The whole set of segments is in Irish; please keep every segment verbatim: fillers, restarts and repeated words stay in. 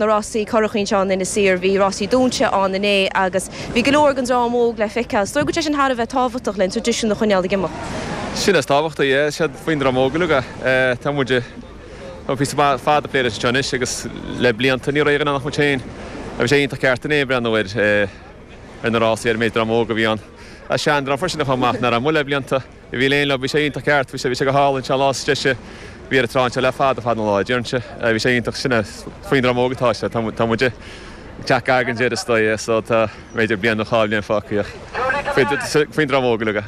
Na rásaí currachaí anseo in Inis Oírr, bhí rásaí dúinte ann inné agus bhí go leor den dream óg le feiceáil. Is dóigh go bhfuil sé sin thar a bheith tábhachtach le an traidisiún a choinneáil ag imeacht. Sin is tábhachtaí, é siad faoin dream óg uilig é. Tá muid tá píosa fada plé leis anseo anois agus le blianta ní raibh an muid féin. Bhí sé iontach ceart inné breathnú ar ar na rásaí ar an méid dream óg a bhí ann. A seandream freisin a chomh maith nach raibh amuigh le blianta. Bhí léin le bhí sé iontach ceart, bhí sé bhí sé go hálainn sé lá deise bhí ar an trá anseo le fada fada na lá deireann sé. Bhí sé iontach sin faoin dream óg atá sé tá muid ag teacht gar don deireadh is dóigh so tá b'fhéidir bliain nó dhá bhliain fágtha faoin dream óg uilig.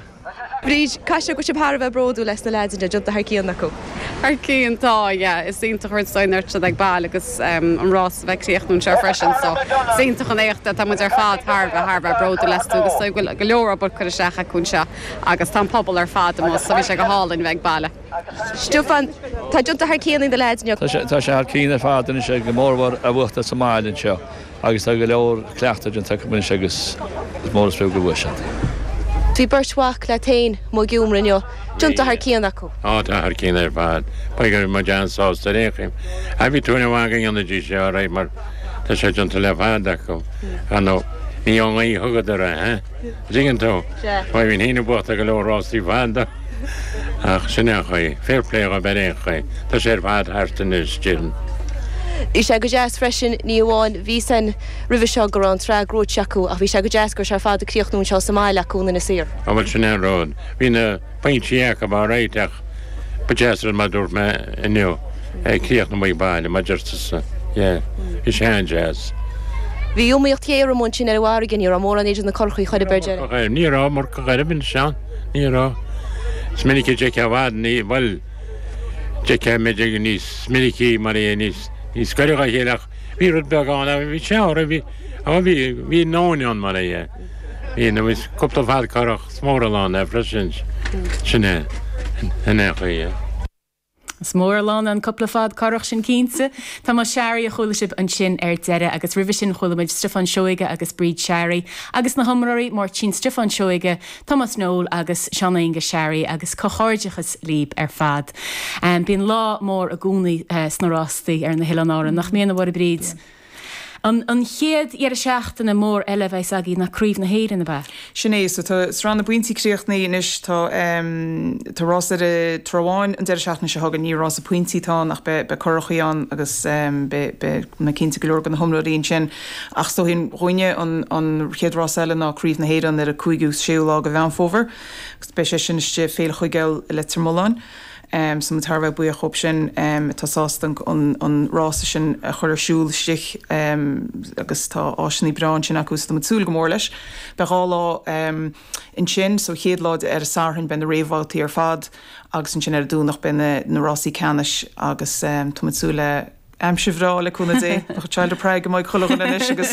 Bríd, caithfidh sé go bhfuil sibh thar a bheith bródúil as na leaids déanta thar cionn acu. Thar cionn tá, yeah, is iontach rud san ar ag baile agus um, an rás a bheith críochnú anseo freisin, so is iontach an éacht tá muid ar fad thar bheith thar bheith bródúil astu agus so go go leor obair curtha isteach acu anseo agus tá an pobal ar fad amuigh so bhí sé go hálainn bheith ag baile. Stiofán, tá déanta thar cionn na leaids inniu. Tá sé thar cionn ar fad sé go mórmhór a bhuachtáil sa mbaile anseo agus tá go leor cleachtadh déanta acu anois agus is mór is fiú go bhfuil siad. Bhí beirt mhac leat féin amuigh ag iomramh inniu, déanta thar cionn acu. Á tá thar cionn ar fad, ba go mu an-sásta ar aon chaoi. A bhí tú bha go dhéanfaidís sé ré mar tá sé déanta le fada acu. Nó ní an í thugadar é, Tuigeann tú Ba bhín héana buachta go leor rásaí fada ach sin é chuí, fair play go ar aon chaoi, Tá sé ar fad thart anois sin. Bhí sé go deas freisin ní amháin bhí san roimhe seo go raibh an tsraith gnóite acu ach bhí sé go deas gur sé ar fad a críochnú anseo sa mbaile acu in Inis Oírr. An bhfuil sin an rud. Bhí na pointí acu á réiteach ba deas mar dúirt mé inniu críochnú ag baile mar deirtear Bhí sé an-deas. Bhí iomaíocht ghéar amuigh ansin ar an bhfarraige ní raibh mórán idir na curachaí chuir beidir. Ní raibh mar go bin sean ní raibh. Is minic de bhd ní bhfuil de mé níos minicí mar é níos níos gaire dá chéile ach bhí rud beag ann bhí sé bhí bhí bhí nóin ann mar é. Bhí na bhí cúpla fad curach mór ann é freisin sin é in é chuí. Is mór lán an cúpla fad curach sin cinnte. Tá mar Seairí a chuala sibh ansin ar deireadh agus roimhe sin chuala muid Stiofán Seoige agus Bríd Seairí agus na hiomróirí Máirtín Stiofán Seoige, Thomas Noel agus Seán Aengus Seairí agus comhghairdeachas libh ar fad. Um, Bíonn lá mór i gcónaí uh, sna rástaí ar na hOileáin Árann nach mbíonn a Mháire Bríd. Yeah. An, an chéad deireadh seachtaine mór eile bheidh againn ná Craobh na hÉireann ab ea. Sin é, so tá sraith na bpointí críochnaithe anois tá um, tá rás ar Trá Bháin an deireadh seachtaine seo chugainn ní rás pointí atá ann ach be, be curachaí ann agus um, be, be na cinnte go leor go na hiomróirí sin ach so hin ruine an, an chéad rás eile ná Craobh na hÉireann ar a cúigiú séú lá go Mheán Fómhair agus beidh sé sin istigh Féile Chuigéil i Leitir Mealláin. Um, so tar bheith buíoch dhóibh sin um, tá sásta an, an rása sin a chur ar siúl istigh um, agus tá áiseanna breá ansin acu so tá súil go mór leis. Beidh dhá lá um, ansin so chéad lá ar an Satharn beidh na réamhbhabhtaí ar fad agus ansin ar an Domhnach beidh na, na rásaí ceannais agus um, tá súil le aimsir bhreá le cúnamh Dé child praig go maith chuile anois agus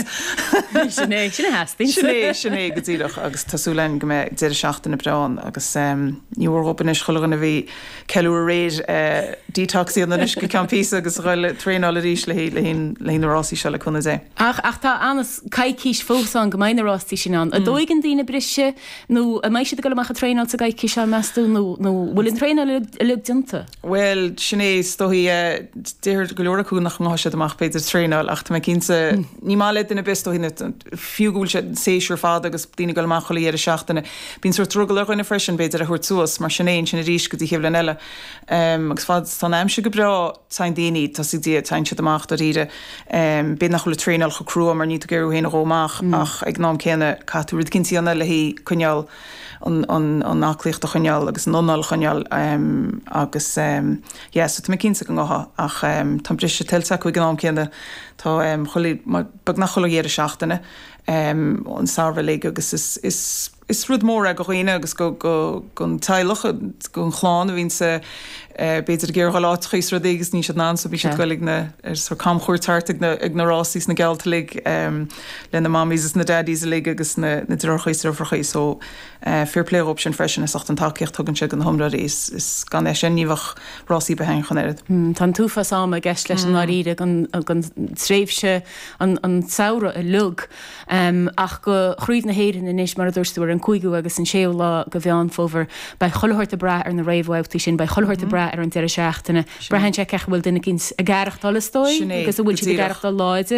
Sin é sin theastaíonn. Sin é sin é go díreach agus tá súil againn go mbeidh deireadh seachtaine breá ann agus um, ní mhór anois chuile a bhí ceiliúradh aréir uh, detox anois go ceann píosa agus dul traenáil arís le le le na rásaí seo le cúnamh Dé. Ach ach tá anas coicís fós ann go mbeidh na rástaí sin ann. An dtógann daoine briseadh nó an mbeidh siad ag dul amach ag traenáil sa gcoicís seo meas tú nó nó bhfuil an traenáil uilig déanta. Well sin é is dóichí deir go leor acu nach ngabhfaidh siad amach b'fhéidir traenáil ach tá mé cinnte ní maith le duine bis dóichí fiú go bhfuil sé séasúr fada agus daoine ag dul amach chuile dheireadh seachtaine. Bíonn sórt drogall ar dhuine freisin b'fhéidir a thabhairt suas mar sin é sin arís go dtí an chéad bhliain eile. Um, agus fad tá aimsir go breá téann daoine tá dia téann siad amach dáiríre um, b'fhéidir nach bhfuil traenáil chomh crua mar ní tú géú héana amach mm. ach ag an am céanna caithfidh tú rud eicínt a dhéanamh le hí coinneáil an, an, an aclaíocht a choinneáil agus an anáil a choinneáil um, agus um, yeah, so tá mé cinnte go ngabhfaidh ach um, tá briseadh tuillte acu ag an am céanna tá um, beagnach chuile dheireadh seachtaine um, an samhradh uilig agus is, is, is rud mór é go dhaoine agus go, go, gon teaghlach gon chlann a bhíonn sa uh, b'fhéidir ag iarraidh áiteacha rudaí agus ní siad ná so bhí siad ag dul na ar sort camchuairt thart ag na, ag na rásaí na geallta uilig um, le na mammies is na daddies uilig agus na, na deartháireacha is deirfiúracha so uh, fair play dhóibh sin freisin is an tacaíocht tugann sé go na hiomróirí is, is gan é sin ní bheadh rásaí behain chun oiread. Mm, Tá an t-uafás ama i gceist leis an dáiríre gan gan tréimhse an an samhradh uilig. Ach go Craobh na hÉireann anois mar a dúirt tú ar an cúigiú agus an séú lá de Mheán Fómhair, beidh chuile shórt ag brath ar na réamhbhabhtaí sin, beidh chuile shórt ag brath ar an deireadh seachtaine. Braitheann sé cén chaoi a bhfuil duine eicínt ag aireachtáil is dóigh agus an bhfuil siad ag aireachtáil láidir.